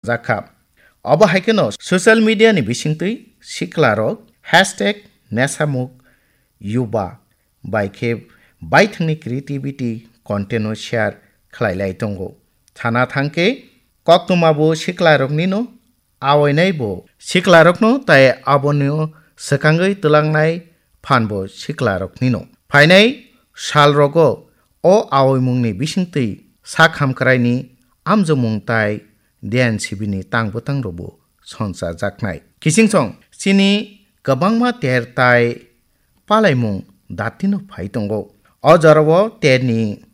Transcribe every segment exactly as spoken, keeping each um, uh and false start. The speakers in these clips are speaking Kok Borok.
jakha. Obo hai kheno social media ni bisingtwi siklarok hashtag nesamuk yuba bai khe baithangni creativity content no share khlai lai tongo. Sana thangkhe koktwma bo siklarokni no awainai bo siklarokno tai abono swkangwi twlangnai phan bo siklarokni no. Phainai salrogo o awaimungni bisingtwi sak hamkraini amjomung tai D N C B ni tang bwtang rokbo sonsa jaknai. Kisingsong chini kwbangma ter tai palaimung datino phai tongo. O jorao terni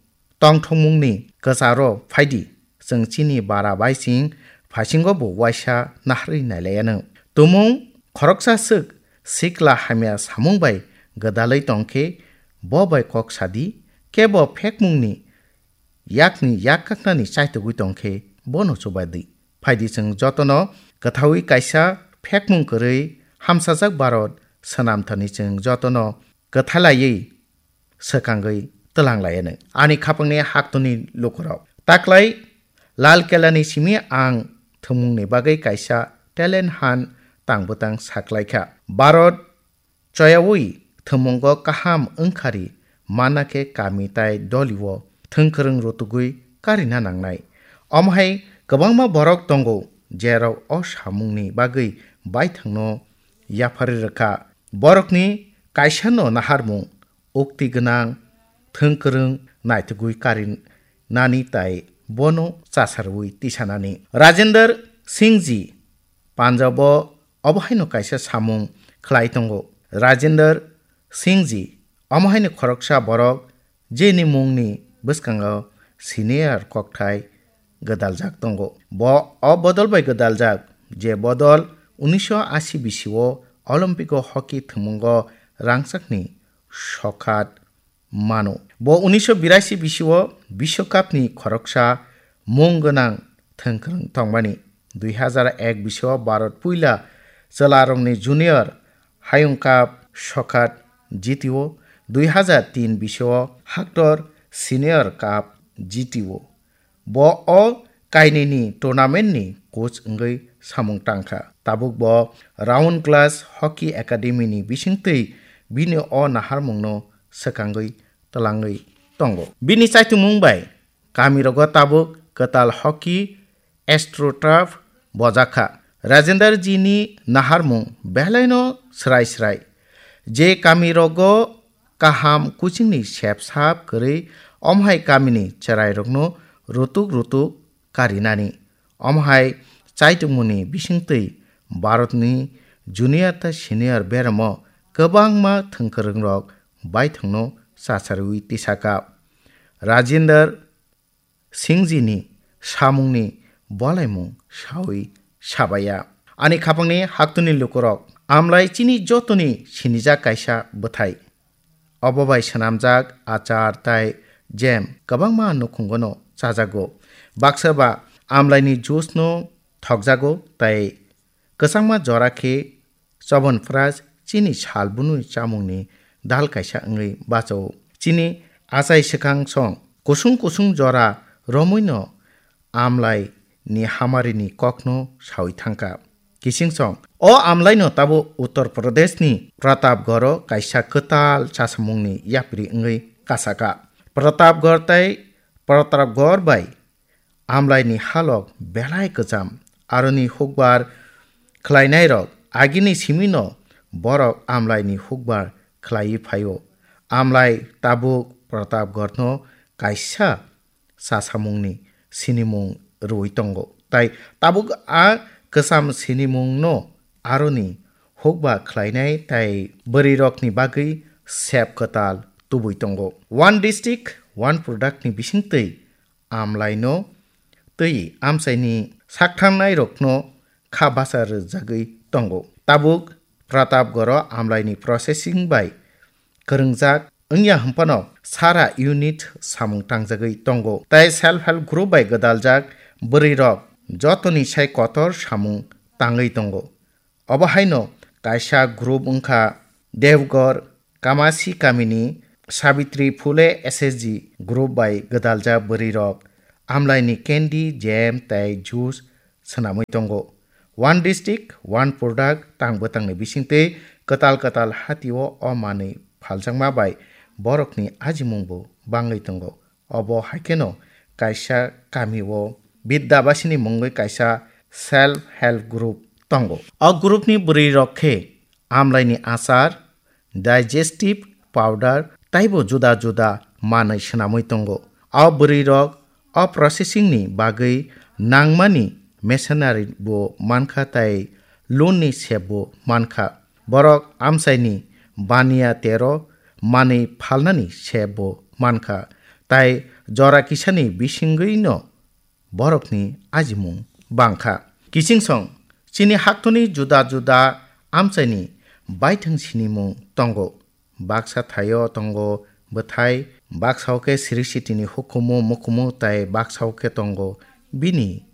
tongthokmungni kwcharo phaidi, chwng chini bara baising phaisingo bo waisa naharwi nailaianw. Tumung khoroksa swk sikla hamya samung bai gwdalwi tongkhe bo bai kok sadi, kebo phekmungni yakni yak kaknani chaitugwi tongkhe bono chubadi. Phaidi chwng jotono kwthawi kaisa phekmung kwrwi hamsajak Bharat swnamthani chwng jotono kwthalaiwi swkangwi twlang laianw. Ani khapangni haktoni lukurok. Taklai Lal Kelani simi ang thwngmungni bagwi kaisa talent hunt tang bwtang saklaikha. Bharat choyawi thwngmungo kaham wngkhari manna khe kami tai dolio thwngkwrwng rutugwi karina nangnai. Omo hai kwbangma borok tongo, jerok o samungni bagwi baithangno yapharwi rwkha. Borokni kaisano naharmung, ukti gwnang, thwngkwrwng naitugwi karinani tai bono chasarwi tisanani. Rajendra Singh ji Punjabo obo haino kaisa samung khlai tongo. Rajendra Singh ji omo haino khoroksa borok jeni mungni bwskango senior kokthai gwdaljak tongo. Bo o bodol bai gwdaljak, je bodol unisho ashi bisio Olympic o hockey thwngmungo rangchakni sokhat mano. Bo unisho birashi bisio Biswakapni khoroksa mung gwnang thwngkwrwng tongmani. Dui hazar ek bisio Bharat puila chwlarokni junior Hayung Cup sokhat jitio, dui hazar tin bisio Haktor Senior Cup jitio. Bo o kainwini tournament ni coach wngwi samung tangkha. Tabuk bo Round Glass Hockey Academy ni bisingtwi bini o naharmungno swkangwi twlangwi tongo. Bini chaitumung bai kamirogo tabuk kwtal hockey AstroTurf bojakha. Rajendra ji ni naharmung belaino srai srai. Je kamirogo kaham kuchingni sep sap kwrwi, omo hai kamini chwrairokno rutuk rutuk karinani. Omo hai chaitungmungni bisingtwi Bharatni junior tei senior beramo kwbangma thwngkwrwngrok baithangno chacharwi tisaka. Rajendra Singhjini samungni bolaimung sawi sabaya. Ani khapangni haktuni lukurok, amlai chini jotoni sinijak kaisa bwthai. Obo bai swnamjak achar tai jam kwbangma nukhungono chajago. Baksa ba amlaini juice no thokjago tai kwchangma jora khe Chobon Pras chini sal bunui chamungni dal kaisa wngwi bachao. Chini achai swkang song kusung kusung jora romwino amlai ni hamari ni kokno sawi thangkha. Kising song, o amlai no tabo Uttar Pradesh ni Pratapgarh o kaisa kwtal chasamung ni yapri wngwi kasaka. Pratapgarh tai Pratapgarh bai amlai ni halok belai kwcham, aroni hukbar khlainairok agini simino borok amlai ni hukbar khlaiwi phaio. Amlai tabuk Pratapgarh no kaisa chasamungni sinimung rwui tongo. Tai tabuk a kwcham sinimungno aroni hukba khlainai tai bwrwirokni bagwi sep kwtal tubui tongo. One District, One Product ni bisingtwi amlaino twi amchaini saktharnairokno kha basa rwjagwi tongo. Tabuk Pratapgarh o amlaini processing bai kwrwngjak wngya hwnphano sara unit samung tangjagwi tongo, tei self help group bai gwdaljak bwrwirok jotoni sai kotor samung tangwi tongo. Obo haino kaisa group wngkha Devgarh Kamasi kamini Savitri Phule S S G group bai gwdaljak bwrwirok amlaini candy, jam tei juice swnamwi tongo. One district, one product tang bwtangni bisingtwi kwtal kwtal hatio o manwi phaljakma bai borokni ajimungbo bangwi tongo. Obo hai kheno kaisa kamio Bidyabasini mungwi kaisa self help group tongo. O groupni bwrwirok khe amlaini achar, digestive powder taibo juda juda manwi swnamwi tongo. O bwrwirok o processing ni bagwi nangmani machinery bo mankha tei loan ni sep bo mankha. Borok amchaini baniya tero manwi phalnani sep bo mankha, tai jora kisani bisingwino borokni ajimung bangkha. Kichingsong chini haktorni juda juda amchaini baithang sinimung tongo. Baksa thaio tongo bwthai, baksa o khe sri sitini hukumu mukumu tai baksa o khe tongo bini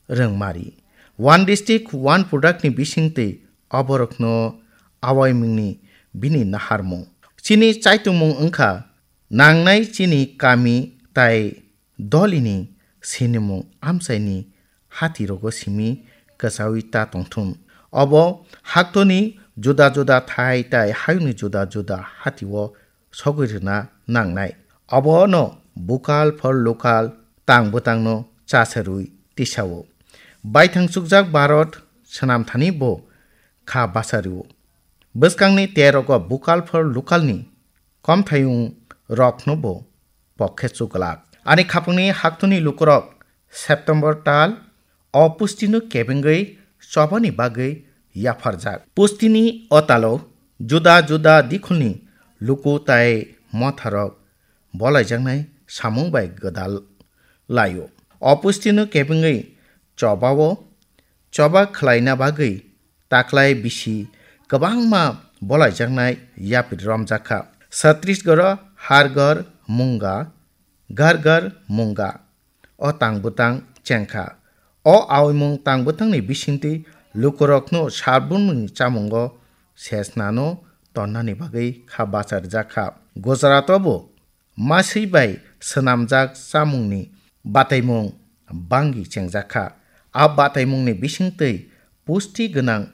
rwngmari. One district, one product ni bisingtwi oborokno awaimungni bini naharmung. Chini chaitungmung wngkha nangnai chini kami tai dolini sinimung amchaini hatirogo simi kwchaui ta tongthun. Obo haktorni juda juda thai tai hayungni juda juda hatio sogwi rwna nangnai. Obono vocal for local tang bwtangno chasarwi tisao. Baithang chukjak Bharat swnamthani bo kha bachario. Bwskangni terogo vocal for local ni komthayung rokno bo pokhe chuklak. Ani khapangni haktorni lukurok September tal o pustino kebengwi chobani bagwi yapharjak. Pustini o talo juda juda dikhulni luku tai motharok bolaijaknai samung bai gwdal laio. O pustino kebengwi chobao choba khlaina bagwi taklai bisi kwbangma bolaijaknai yapri romjak kha. Chhattisgarh o Har Ghar Munga, Ghar Ghar Munga o tang bwtang chengkha. O aoimung tang bwtangni bisingtwi lukurokno salbumni chamungo sesnano tonnani bagwi kha bacharjak kha. Gujarat o bo maswi bai swnamjak chamungni bataimung bangwi chengjak kha. A bataimungni bisingtwi pusti gwnang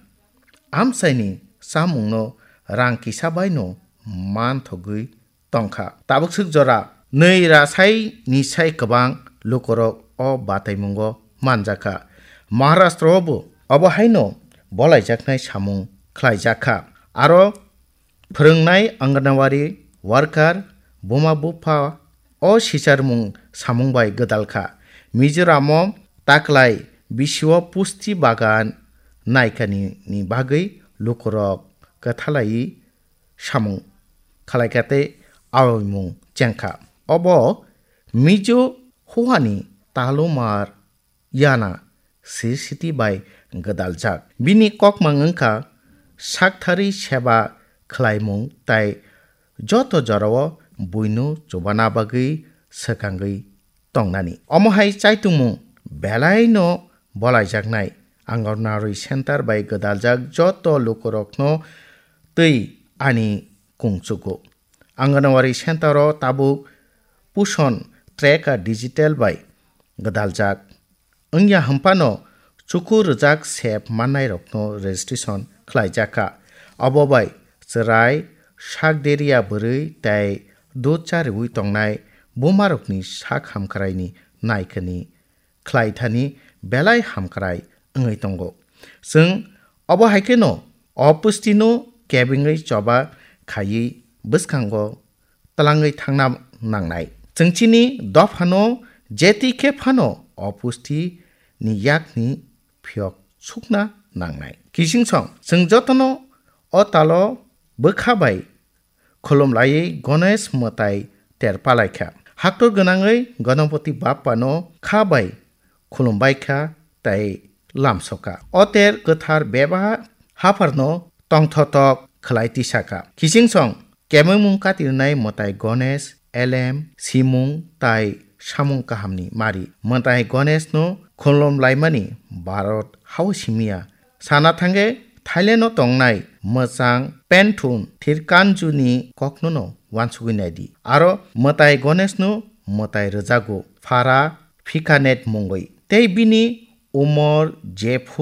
amchaini chamungno rang kisa baino manthogwi tongkha. Tabuk swk jora nwi ra sai ni sai kwbang lukurok o bataimungo manjakha. Maharashtra o bo obo haino bolaijaknai samung khlaijakha. Aro phwrwngnai Anganwadi worker, buma bupha o sicharmung samung bai gwdalkha. Mizoram o taklai bisio pusti bagan naikani ni bagwi lukurok kwthalai samung khlaikha tei aoimung chengkha. Obo Mizo huani talumar yana sisiti bai gwdaljak. Bini kokmang wngkha sakthari seba khlaimung tai joto jorao buino chubana bagwi swkangwi tongnani. Omo hai chaitungmung belaino bolaijaknai Anganwadi center bai gwdaljak joto lukurokno twi ani kungchugo. Anganwadi center o tabuk Pushan tracker digital bai gwdaljak. Wngya hwnphano chuku rwjak sep mannairokno registration khlaijakha. Abo bai chwrai, sak deriya bwrwi tei dud chariwi tongnai bumarokni sak hamkraini naikani khlaithani belai hamkrai wngwi tongo. Chwng obo hai kheno o pustino kebengwi choba khaiwi bwskango twlangwi thangna nangnai. Chwng chini dophano jeti khe phano o pusti ni yakni phiyok sukna nangnai. Kichingsong chwng jotono o talo bwkha bai khulum laiwi Ganesh mwtai ter palaikha. Haktor gwnangwi Ganapati Bappano kha bai khulum baikha tei lamsokha. O ter kwthar bebak hapharno tongthotok khlai tisakha. Kichingsong kemengmung katirnai mwtai Ganesh, elem, simung tai samung kahamni mari. Mwtai Ganeshno khulum laimani Bharat hao simiya. Sana thangkhe Thailand o tongnai mwchang Penthun Thirkanju ni kokno no wansugwi naidi. Aro mwtai Ganesh no mwtai rwjago phara phikanet mungwi. Tei bini Umor jephu